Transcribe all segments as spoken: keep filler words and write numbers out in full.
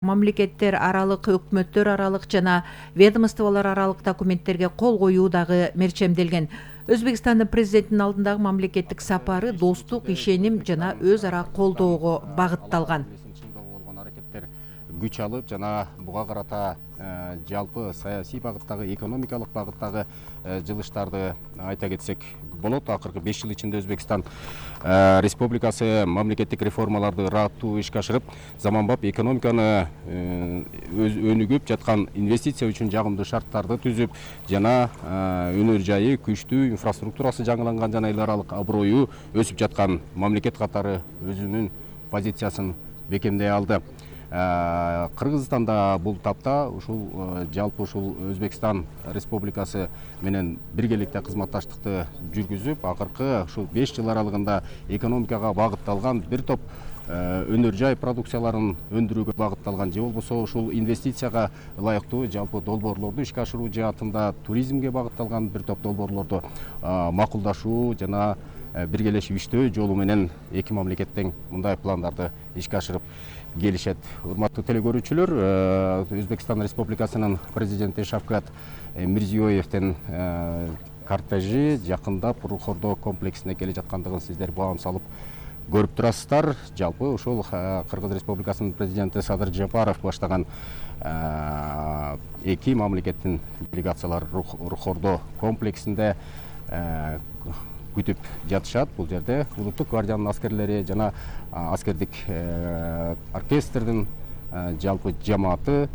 Мамлекеттер аралык, өкмөттөр аралык жана ведомстволор аралык документтерге кол коюу дагы мерчемделген. Өзбекстандын президентинин алдындагы мамлекеттик сапары достук, ишеним жана өз ара колдоого багытталган. Күч алып жана буга карата жалпы саясий багыттагы, экономикалык багыттагы жылыштарды айта кетсек болот. Акыркы беш жыл ичинде Өзбекстан Республикасы мамлекеттик реформаларды ыраттуу ишке ашырып, заманбап экономиканы өнүгүп жаткан инвестиция үчүн жагымдуу шарттарды түзүп, жана өнөр жайы күчтүү, инфраструктурасы жаңыланган жана эл аралык аброю өсүп жаткан мамлекет катары өзүнүн позициясын бекемдей алды. Кыргызстанда бул тапта ушул жалпы ушул Өзбекстан Республикасы менен биргеликте кызматташтыкты жүргүзүп, акыркы ушул беш жыл аралыгында экономикага багытталган бир топ өнөр жай продукцияларын өндүрүүгө багытталган же болбосо ушул инвестицияга ылайыктуу жалпы долбоорлорду ишке ашыруу жаатында туризмге багытталган бир топ долбоорлорду макулдашуу жана биргелешип иштөө жолу менен эки мамлекеттен мындай пландарды ишке ашырып келишет. Урматтуу телекөрүүчүлөр, Өзбекстан Республикасынын президенти Шавкат Мирзиёевдин кортежи жакындап Рухордо комплексине келе жаткандыгын сиздер баам салып көрүп турасыздар. Жалпы ушул Кыргыз Республикасынын президенти Садыр Жапаров баштаган эки мамлекеттин делегациялары Рухордо комплексинде күтүп жатышат. Бул жерде улуттук гвардиянын аскерлери жана аскердик оркестрдин жалпы жамааты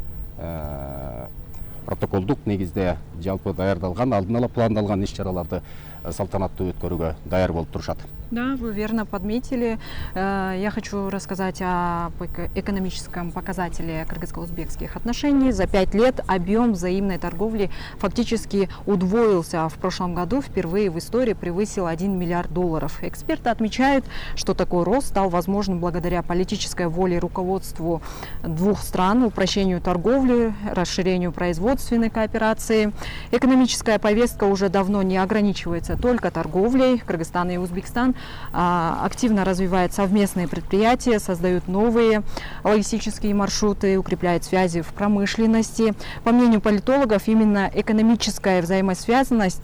протоколдук негизде жалпы даярдалган, алдын ала пландалган иш-чараларды салтанаттуу өткөрүүгө даяр болуп турушат. Да, вы верно подметили. Я хочу рассказать о экономическом показателе кыргызско-узбекских отношений. За пять лет объем взаимной торговли фактически удвоился. В прошлом году впервые в истории превысил один миллиард долларов. Эксперты отмечают, что такой рост стал возможным благодаря политической воле руководству двух стран, упрощению торговли, расширению производственной кооперации. Экономическая повестка уже давно не ограничивается только торговлей. Кыргызстан и Узбекистан активно развивают совместные предприятия, создают новые логистические маршруты, укрепляют связи в промышленности. По мнению политологов, именно экономическая взаимосвязанность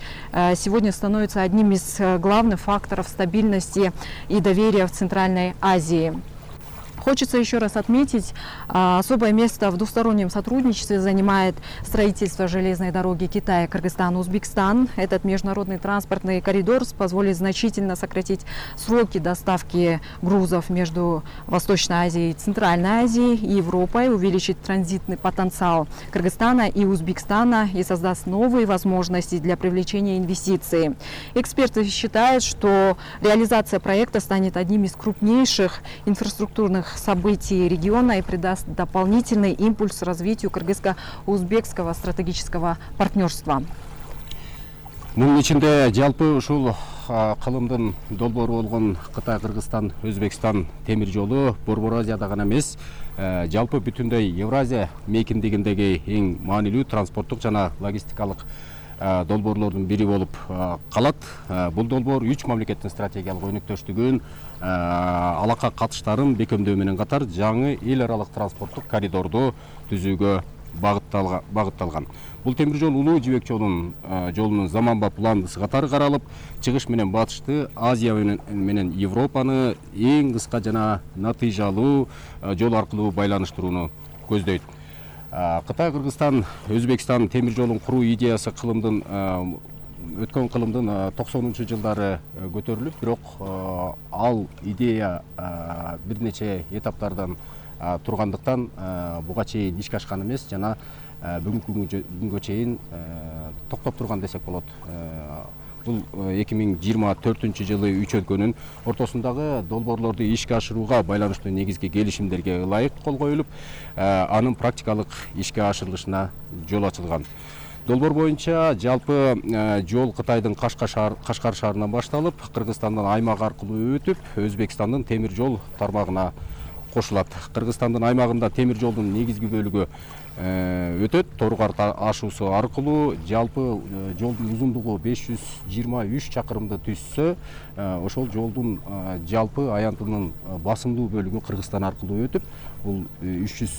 сегодня становится одним из главных факторов стабильности и доверия в Центральной Азии. Хочется еще раз отметить, особое место в двустороннем сотрудничестве занимает строительство железной дороги Китай-Кыргызстан-Узбекистан. Этот международный транспортный коридор позволит значительно сократить сроки доставки грузов между Восточной Азией, Центральной Азией и Европой, увеличить транзитный потенциал Кыргызстана и Узбекистана и создаст новые возможности для привлечения инвестиций. Эксперты считают, что реализация проекта станет одним из крупнейших инфраструктурных событий региона и придаст дополнительный импульс развитию кыргызско-узбекского стратегического партнерства. Мунун ичинде жалпы ушул кылымдын долбоору болгон Кытай, Кыргызстан, Өзбекстан темир жолу Борбор Азияда гана эмес, жалпы бүтүндөй Евразия мейкиндигиндеги эң маанилүү транспорттук жана логистикалык долбоорлордун бири болуп калат. Бул долбоор үч мамлекеттин стратегиялык өнөктөштүгүн, алака катыштарын бекемдөө менен катар жаңы эл аралык транспорттук коридорду түзүүгө багытталган. Бул темир жол улуу жибек жолунун заманбап уландысы катары каралып, чыгыш менен батышты, Азия менен Европаны эң кыска жана натыйжалуу жол аркылуу байланыштырууну көздөйт. Кытай, Кыргызстан, Өзбекстан темир жолун куруу идеясы кылымдын өткөн кылымдын токсонунчу жылдары көтөрүлүп, бирок ал идея бир нече этаптардан тургандыктан буга чейин ишке ашкан эмес жана бүгүнкү күнгө чейин токтоп турган десек болот. Бул эки миң жыйырма төртүнчү жылы үч өлкөнүн ортосундагы долбоорлорду ишке ашырууга байланыштуу негизги келишимдерге ылайык кол коюлуп, анын практикалык ишке ашырылышына жол ачылган. Долбоор боюнча жалпы жол Кытайдын Кашкар шаарынан башталып, Кыргызстандан аймак аркылуу өтүп, Өзбекстандын темир жол тармагына кошулат. Кыргызстандын аймагында темир жолдун негизги бөлүгү өтөт. Торгар ашуусу аркылуу жалпы жолдун узундугу беш жүз жыйырма үч чакырымды түзсө, ошол жолдун жалпы аянтынын басымдуу бөлүгү Кыргызстан аркылуу өтүп, бул үч жүз